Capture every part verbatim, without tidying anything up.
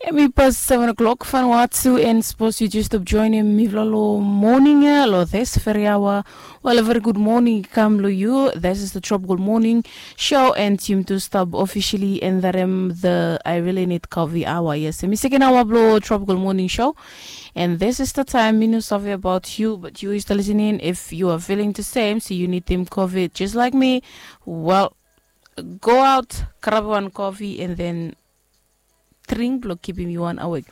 Em i pas seven o'clock fanua tu, and sapos yu just stop joinim mifala lo moning ya lo this very hour. Well, a very good morning kam lo yu. This is the Tropical Morning Show, and yumi tu stap officially endarim the I Really Need Coffee Hour. Yes, em i second hour blo Tropical Morning Show, and this is the time mi no save about you, but you is listening. If you are feeling the same, so you need them coffee just like me, well, go out, grab one coffee, and then drink blo kipim yu wan awake.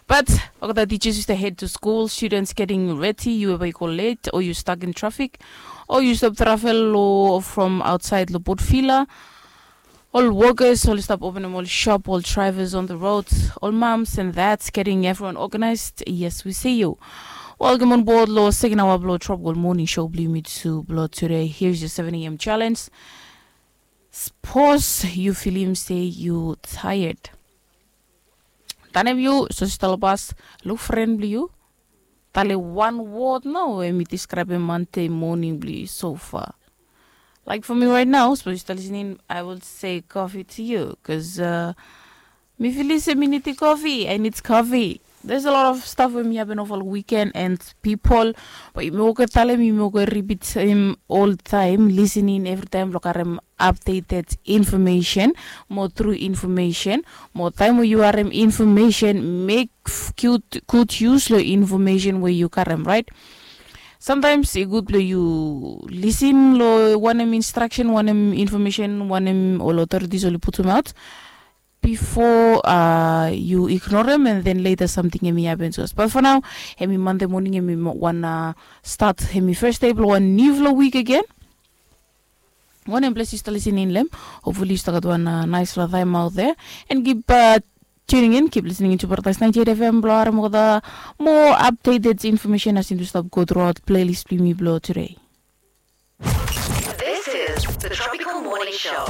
But olgeta teachers yu stap head to school, students getting ready, yu eva yu go late, or yu stuck in traffic, or yu stop travel lo from outside lo Port Vila. Ol workers oli stap openim ol shop, ol drivers on the roads, ol moms and dads getting everyone organized. Yes, we see you. Welcome on board lo second hour blo Tropical Morning Show blo yumi tu blo today. Here's your seven a.m. challenge. Sapos yu filim se yu tired, tanem yu so yu stap lo bas, luk fren blo yu, talem wan word nao we mi describem Monday morning blo yu so far. Like for me right now, sapos yu stap listening, I will say coffee to you, bikos uh, mi filim se mi nidim coffee. I need coffee. There's a lot of stuff we mi happen over weekend and people, but yumi oke talem, yumi oke repeat im all time, listening every time blo karem updated information, mo true information, mo taem we yu harem information, mek good, good use lo information we yu karem, right? Sometimes i gud blo yu listen lo wanem instruction, wanem information, wanem ol authorities oli putum out before uh, yu ignorem, and then later something em i happen to us. But for now, em i Monday morning, em i wan uh, start, em i first day blo wan niufala week again. Wanem ples yu stap listening lo hem? Hopefully yu stap gat wan uh, nice la time out there, and keep uh, tuning in, keep listening into Paradise ninety-eight F M blo harem olgeta mo updated information as yumi stap go throughout playlist blo yumi blo today. This is the Tropical Morning Show.